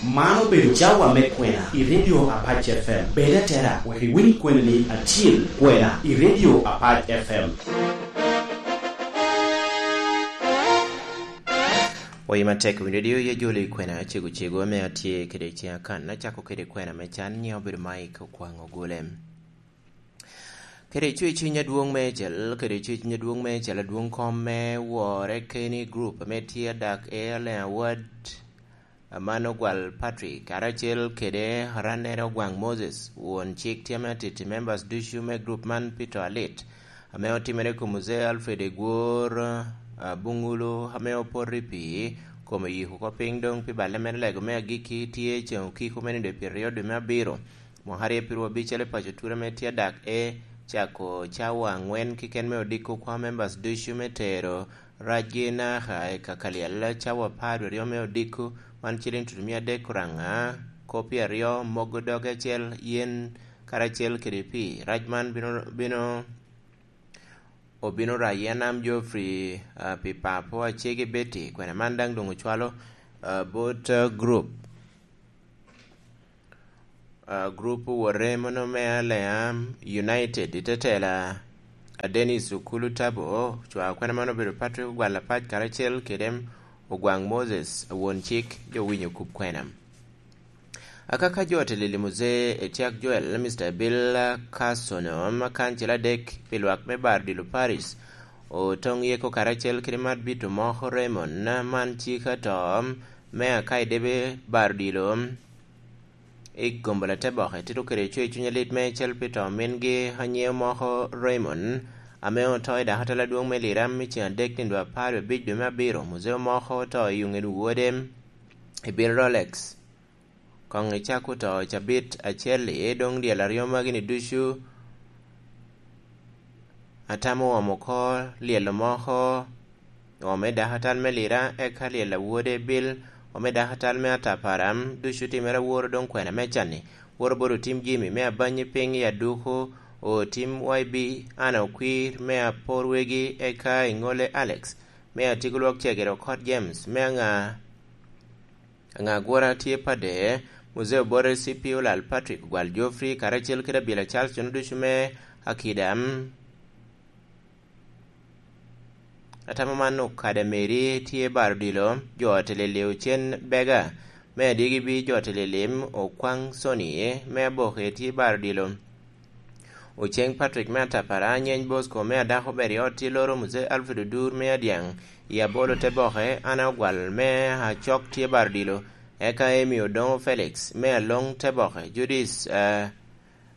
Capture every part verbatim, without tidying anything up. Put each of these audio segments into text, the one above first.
Man obedo cawa me kwena i Radio Apac F M. Bed atera wek iwiny kwenani acil, kwena i Radio Apac F M. Oye matek winyo radio ye jolo i kwena cego cego ame atye kede i ciŋ akan. Acako kede kwena me can, nyiŋa obedo Mike Okwaŋ Ogule. Kede cwecwiny adwoŋ meicel, kede cwecwiny adwoŋ meicel, adwoŋ kom me wore keni group ame tye adak e Allen Award, Amano Gwal Patrick, karacel kede Arannere Ogwaŋ Moses, won cik tye ame atiti members ducu me group man pi to alit, ame otimere i kom Muzee Alfred Egwor, ah, Buŋulu, ame opoto i pii, kome oyiko oko piny doŋ pi balle mere lego me agikki tye ceŋ okiko me nino pyeraryo dwe me abiro. Mwaka aryo pirwa abicel i paco Ture ame tye adak e cako cawa aŋwen keken me odiko kwa members ducu me tero racgi naka i kakalyel cawa apar aryo me odiko, man ciliŋ tutumia adek oraŋa, kopi aryo, mogo doge acel, yen karacel kede pii. Rac man bino, bino, obino rayi Anam Geoffrey, ah, pi papo acege Betty, kwena man daŋ doŋ ocwalo, ah, bot, ah, group. Ah, group owote mono me Alliance United i tetela, a Dennis Okulu Tabo, cwa kwena man obedo Patrick Ogwal Apac karacel kede Ogwaŋ Moses, won cik, jo winyo kub kwena. Akaka jo otelili Muzee Etiak Joel, Mister Bill Carson, ma kancil adek pi lwak me Bardilo Parish, otoŋ yeko karacel kede Marbito Moko Raymond, man cik ato me Akaidebe Bardilo, i gombo Lateboke tito kede cwe cuny alit me cel pi to mingi anyieo moko Raymond, ame oto i dakatala adwoŋ me Liram i ceŋ adek nino apar abic dwe me abiro. Muzeo moko oto i oŋen wode i Bill Rolex. Koŋ icak oto i cabit acel-li, doŋ lyel aryo magi-ni ducu atamo omo oko lyel moko, omo i dakatal me Lira, eka lyel a wode Bill, omo i dakatal me Ataparam, ducu timere aworo doŋ kwena me canni. Woro bot otim Jimmy me abanyi piny i aduku, otim Y B, Anna Okwir me apor wegi, eka iŋolle Alex me atiko lwak cegere, okot James me aŋa Aŋagwora tye pade, Muzee Obote, C P O Lal Patrick, Gwal Geoffrey, karacel kede Abila Charles, jo ducu me akida. Atamo man okada Mary tye baro dilo, jo otelele Ocen Bega, me adigi bi jo otelele Okwaŋ Soni, me aboke tye baro dilo. Oceŋ Patrick me Atapara, Anyeny Bosco me Adako ber i ot tye loro, Muzee Alfred Odur me Adyaŋ i Abolo te boke, Anna Ogwal me Acok tye baro dilo, eka Emi Odoŋo Felix me Aloŋ te boke, Judith, ah,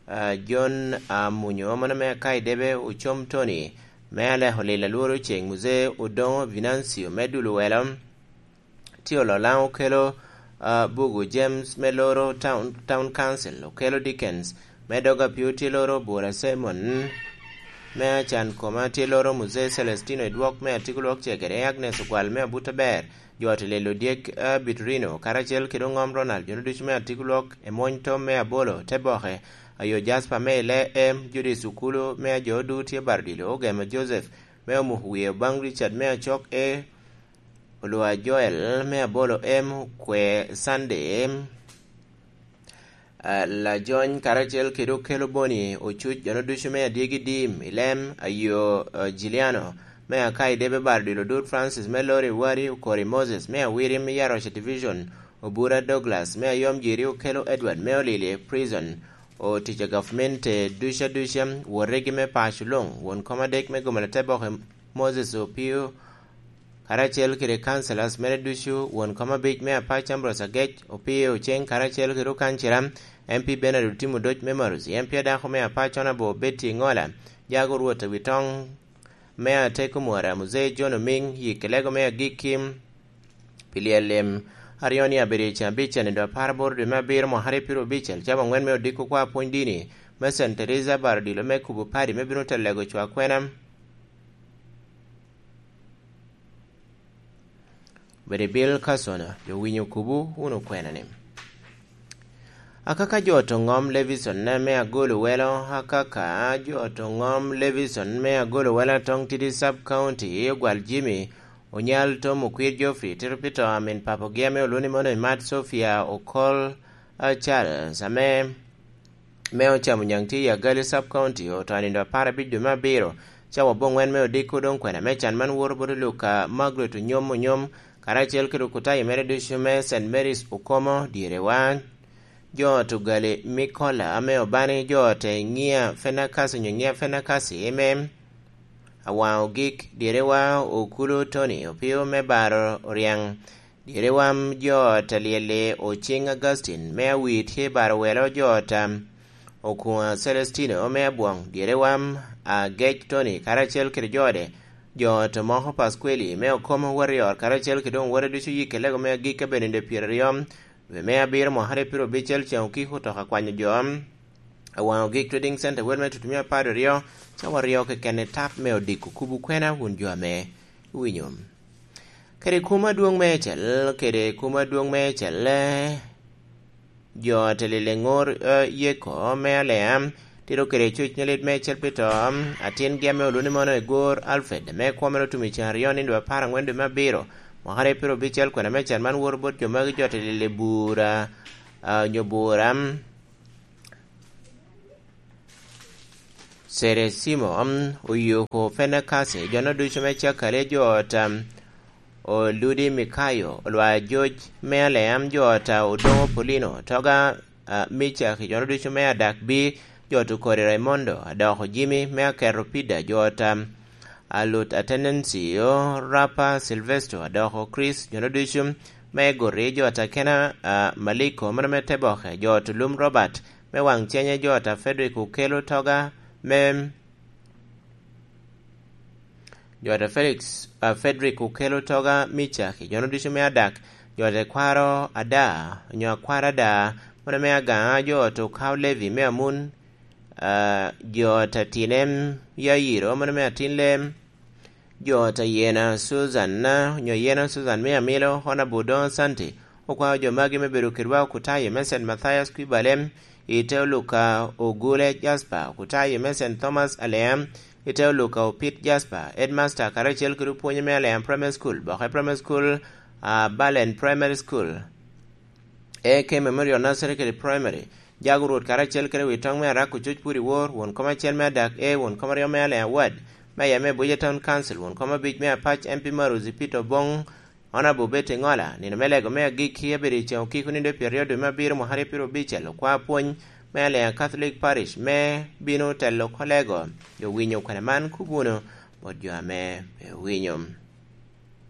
ah, John Amunyo, mano me Akaidebe, Ocom Tony me Aleko Lil Alworo Oceŋ, Muzee Odoŋo Vinancio me Dul Welo, tye Ololaŋ okelo, ah, Bugu James me loro Town, Town Council, okelo Dickens me dog apio tye loro Bura Simon me Acan Koma tye loro Muzee Celestino Edwok me Atiko Lwok Cegere, Agnes Ogwal me Abuto Ber, jo Otelelo Dyek, ah, Bitrino, karacel kede Oŋom Ronald, jo ducu me Atiko Lwok, Emwony Tom me Abolo, te boke, ayo Jasper me Ile Em, Judith Okulu me Ajo Odu tye Bardilo, Ogema Joseph me Omuko Wiye Obaŋ, Richard me Acok e Olwa Joel me Abolo M, Kwe Sunday, ah, Lajony karacel kede Okelo Boni Ocuc, jono ducu me Adyegi Dim i Lem, Ayo, ah, Juliano me Akai Debe Bardilo, Dud Francis me Lori Wari, Okori Moses me Awirim i Aroca Division, Obura Douglas me Ayom Jiri, Okelo Edward me Olili Prison, otic a gavmente duca duca, wotegi me paco luŋ, won kom adek me Gomela Teboke Moses Opio, karacel kede councillors mere ducu, won kom abic me Apac Ambrose Agec, Opio Oceng, karacel kede Okancira, M P Bernard Otim Odoc me Marusi, M P adako me Apac Honourable Betty Ngola, Jago Rwot Awitoŋ me Ateko Mwara, Muzee John Oming, Yikelego me Agikki, pi lyel lim aryo ni abirio ca abic nino apar aboro dwe me abiro mwaka aryo piro abicel, cawa aŋwen me odiko kwa pwony dini me Saint Teresa Bardilo me kubo padi me bino telego cwa kwena. Bedi Bill Carson, jo winyo kubu wunu kwena ni. Akaka jo to ŋom Levison me Agolo Welo, akaka jo to ŋom Levison me Agolo Welo, Atong Tidi Sub County, Ogwal Jimmy, Onyal Tom Okwir Geoffrey tito pi to a min papogi ame oluni mono i Mat Sofia Okol, a, Charles, ame, me ocamo nyaŋ tye i Agali Sub County, oto anindo apar abic dwe me abiro, cawa aboŋwen me odiko doŋ kwena me can man woto bot Luka Margaret Onyom Onyom, karacel kede okutayo mere ducu me Saint Mary's Okomo, dyerewa. Jo ot Ogali Mikola ame obani jo ot Ŋia Fenakasi onyo Ŋia Fenakasi eme Awaŋ Ogik, dyerewa Okulu Tony Opio me Baro Oryaŋ, dyerewa jo ot Alyeli Ociŋ Augustine me Awii tye Baro Welo, jo ot Okuŋa Celestino me Abwoŋ, dyerewa Agec Tony karacel kede jo ode, jo ot Omoko Paskweli me Okomo Warrior karacel kede doŋ wode ducu yikke lego me agikki abedo nino pyeraryo dwe me abiro mwaka aryo piro abicel ceŋ okiko otoka kwanyo jo. Awaŋ Ogik Trading Center wel me tutumia apar aryo, cawa aryo keken i tap me odiko kubu kwena wun jo ame iwinyo. Kede kum adwoŋ me ecel, kede kum adwoŋ me ecel, eh, jo ot Leleŋor, eh, Yeko me Alea, tito kede cuc me lit me ecel pi to, atin gi ame oluni mono i Gor Alfred, me kwo mere otum i ceŋ aryo nindo apar aŋwen dwe me abiro, mwaka aryo piro abicel kwena me can man woto bot jo magi jo ot Lele Bura, ah, onyo Bura, Ceresimo, mm, Oyoko Fenakasi, jo-no ducu me Cakale, jo ot, mm, Oludi Mikayo, Olwa George me Alea, jo ot, ah, Odoŋo Polino, Toga, ah, Micaki, jo-no ducu me Adak Bi, jo ot Okori Raimondo, Adoko Jimmy me Aketo Pida, jo ot, ah, Alut Atenencio, Rapa Silvestro, Adoko Chris, jo-no ducu me Gori, jo ot Akena, ah, Maliko, mano me Teboke, jo ot Olum Robert, me Waŋ Cenye, jo ot a Frederick Okelo Toga, me jo ot a Felix, a Frederick Okelo Toga Micaki, jo-no ducu me Adak, jo ot Ekwaro Ada, onyo Akwaro Ada, mano me Agaŋa, jo ot Okaw Levi me Amun, ah, jo ot Atinem Yayiro, mano me Atin Lem, jo ot Ayena Susan, onyo Yena Susan me Amilo, Honorable Don Santi, okwao jo magi me bedo kedwa okutayo me Saint Mathias Kwibalem, i te Oluka Ogule Jasper, okutayo me Saint Thomas Alea, i te Oluka Opit Jasper, headmaster karacel kede opwonye me Alea Primary School, Boke Primary School, ah, Balen Primary School, A K Memorial Nursery kede Primary, Jago Rwot karacel kede wi toŋ me Arak Ococ Pwod i Wor, won kom acel me Adak A, won kom aryo me Alea Ward, me Ayame Abuja Town Council, won kom abic me Apac M P Maruzi Peter Obong, Honorable Betty Ŋola, nino me lego me agikki abedo i ceŋ okiko nindo pyeraryo dwe me abiro mwaka aryo piro abicel, okwa pwony me Alea Catholic Parish me bino telo kolego. Jo winyo kwena man kop wunu bot jo ame pe owinyo.